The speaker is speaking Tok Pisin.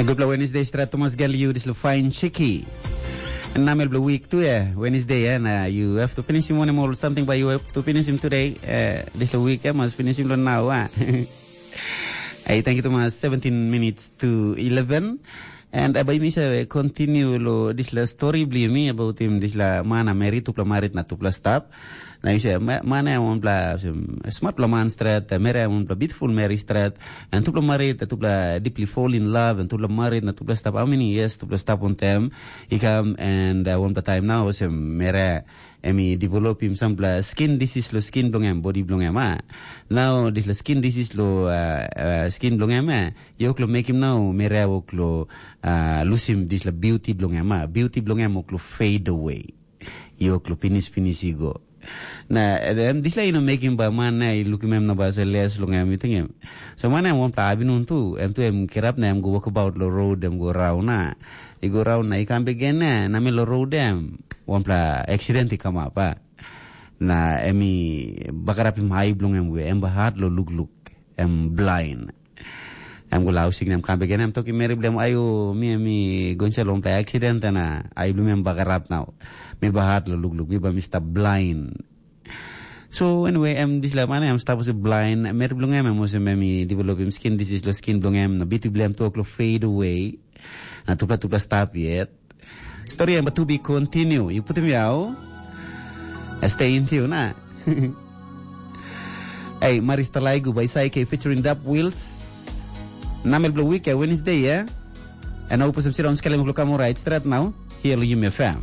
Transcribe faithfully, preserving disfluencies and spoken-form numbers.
Gutpela Wednesday stret Thomas Gel you this fine chicky. Namel blue week tu ya Wednesday ya na you have to finish him one more something but you have to finish him today. Uh, this week ya must finish him now. Ah. Hey, thank you Thomas. Seventeen minutes to eleven. And uh, by me say continue lo this la story bli me about him this la mana married tupla married na tupla stap. Na you say mana ya one bla smart la man stret, mere ya one bla beautiful Mary stret. And tupla married, tupla deeply fall in love, and tupla married na tupla stap. How many years tupla stap on them? He come and uh, one time now se mere em i developim sampela skin disease lo skin bilong em, body bilong em. Ah. Now dispela skin disease lo uh, uh, skin bilong em, eh, yok lo mekim now mere wok lo uh, lusim dispela beauty bilong em. Ah. Beauty bilong em wok lo fade away. Yok lo pinis pinis i go. Na em dispela i no mekim ba man na i lukim em na ba se les long em i tingim. So man em wanpela abinun tu, em tu em kirap na em go wokabaut lo road em go raun na. I go raun na i kam bek gen na, na mi lo road em wanpela accident i kamap a. Na em i bagarapim ai bilong em we em bahat lo lukluk, em blind. Em go lausik na em kam bek gen em tokim meri bilong em, ayo mi em i go insait long pela accident na ai bilong em bagarap nau. Mi bahat lo lukluk, mi ba mi stap blind. So anyway, em dispela man em stap olsem blind, meri bilong em em olsem em i developim skin disease lo skin bilong em, na beauty bilong em tu ol fade away. Na tupela tupela stap yet. Story em tu be continue. You put him yau. Stay in tune, na. Hey, Maris Talaigu by Saike featuring Dap Wheels. Namel blue week, eh, Wednesday, yeah? And I hope some sit on Skelem Klukamo right straight now. Here, Yumi F M.